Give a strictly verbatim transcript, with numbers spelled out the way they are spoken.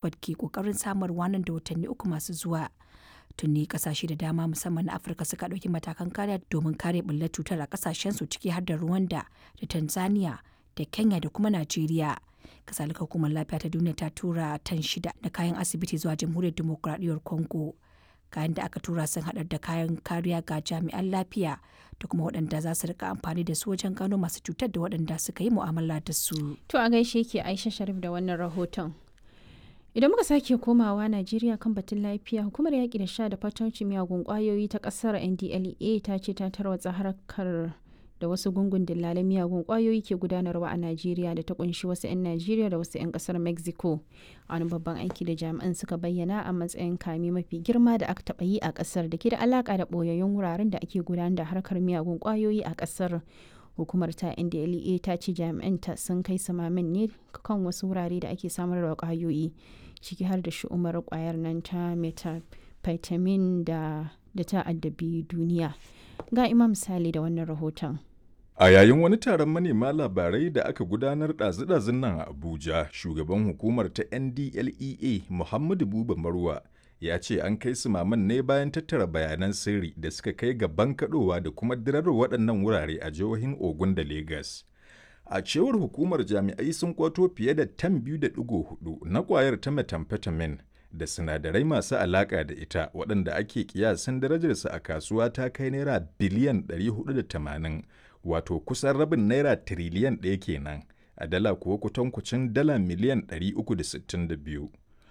Oxford ke kokarin samarwa nan da watanni uku masu zuwa. Tuni kasashe da dama musamman na Afirka suka ɗauki matakan kariya domin kare ɓullar cutar a kasashensu ciki har da Rwanda da Tanzania da Kenya da kuma Najeriya. Kasalika hukumar lafiya ta duniya ta tura tan shida na kayan asibiti zuwa jamhuriyar dimokuraɗiyyar Congo. Kayan da aka tura sun haɗar da kayan kariya ga jami'an lafiya da kuma waɗanda za su rika amfani da su wajen gano masu cutar da waɗanda suka yi mu'amala da su. To a gaishe ke Aisha Sharif da wannan rahoton. Idan muka sake komawa Najeriya kan batun lafiya, hukumar yaƙi da sha da fatauci miyagun ƙwayoyi ta ƙasar N D L E A ta ce ta tarwatsa harkar da wasu gungun dillalan miyagun ƙwayoyi ke gudanarwa a Najeriya da ta kunshi wasu 'yan Najeriya da wasu 'yan ƙasar Mexico. A wani babban aiki da jami'an suka bayyana a matsayin kame mafi girma da aka taɓa yi a ƙasar da ke da alaƙa da ɓoyayyun wuraren da ake gudanar da harkar miyagun ƙwayoyi a ƙasar. Hukumar ta N D L E A ta ce jami'an ta sun kai samamin ne kan wasu wurare da ake samar da kwayoyi, ciki har da shi'umar kwayar nan ta methamphetamine da da ta addabi duniya. Ga Imam Sale da wannan rahoton. A yayin wani taron manema labarai da aka gudanar ɗazu-ɗazun nan a Abuja, shugaban hukumar ta N D L E A, Muhammadu Buba Marwa, ya ce an kai su maman ne bayan tattara bayanan sirri da suka kai ga bankaɗowa da kuma dirar waɗannan wurare a jihohin Ogun da Legas. A cewar hukumar, jami'ai sun kwato fiye da tan biyu da ɗigo hudu na ƙwayar ta methamphetamine da sinadarai masu alaƙa da ita, waɗanda ake kiyasin darajarsa a kasuwa ta kai naira biliyan ɗari huɗu da tamanin, wato kusan rabin naira tiriliyan ɗaya kenan, a dala kuwa kutankucin dala miliyan ɗari uku da sittin da biyu.